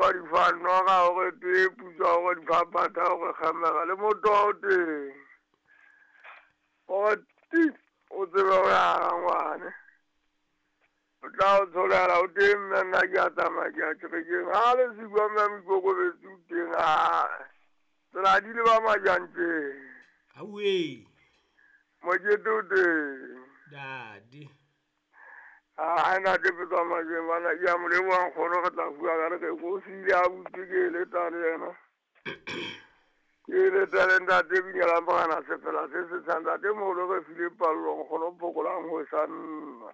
kwa difanoga gore tee putswa gore diphaphatha gore kgamega le moto o teng. Gore ti o tsebe go ya ga ngwane. O tla o tsholela o teng mme nna ke a tsamaya ke a kerekeng. Ha le sikwa mme moikokobetsi o teng a tsela di le ba majanteng. Awe. Mokete o teng. Dadi. A na te petsa majeng bana ke a mo lebogang kgono re tla bua ka re ke ko sile a butse ke e leta le yena. Ke e leta le ntate binyela mogana sefela se se tshang ntate moholo re file pallong kgono phokolang ho sa nna.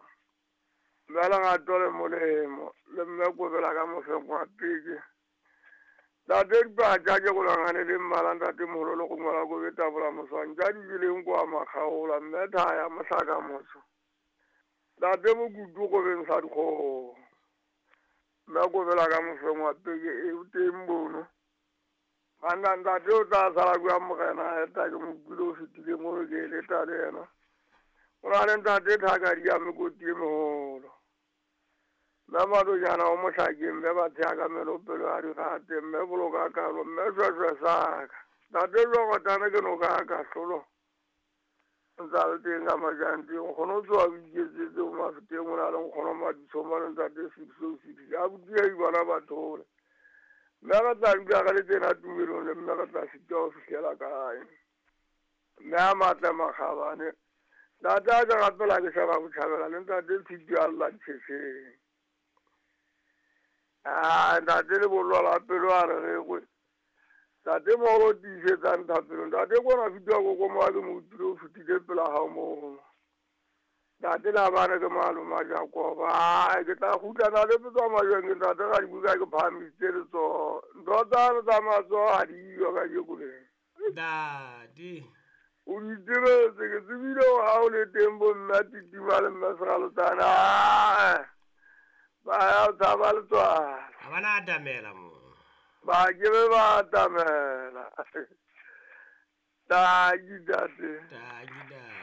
Mme lerato le molemo le mme kobela ka mofeng wa peke. Ntate dipatša ke go langane le mmala ntate moholo le go ngwala ko betabola moswang tša di jeleng kwa makgaola mme thaya mohlaka moso. Ntate mokutu go beng sa dikgogo. Mme kobela ka mofeng wa peke e o teng bono. Banna ntate o tla sala kua mogena eta ke mo kwile o fetile mo ke e leta le yena. O na le ntate thaka di ya mekoti e megolo. Mme madojana o mohlakeng mme ba thea ka melopelo ya digate mme boloka kalo mme shweshwe saka. Ntate jwagotane ke noka ya kahlolo. Ntse a le teng ka majanteng nkgono o tsoa o iketsetse o mafeteng o na le nkgono maditshomo le ntate 606 a botia bona bathole. Mme re tla dula re le tena tumelong le mme re tla sitwa ho fihlela kae. Mme a matle makgabane. Ntate a ke rapela ke sheba botjhabela le ntate Tshitwe a lla ditjhetjheng. Ah, ntate le bollo la pelo a re rekwe. Ntate moholo tiisetsang thapelo. Ntate kona fitwa koko mo a ke mo utlwile o fetile pela hao moo. Ntate la bana ke maloma Jakoba. Ai, ke tla kgutla na le petswa majweng ke ntate ga dibuka ke phahamisitse letsoho. Ntho tsa tsa matsoho ha di yo ka jeko le. Dadi. O di tsebetse ke tsebile hore ha o le teng bo mme titima le mme Seralotsana. Ba ya o tshaba letswalo. Ha bana atamela mo. Ba ke be ba atamela. Taki tate. Taki dadi.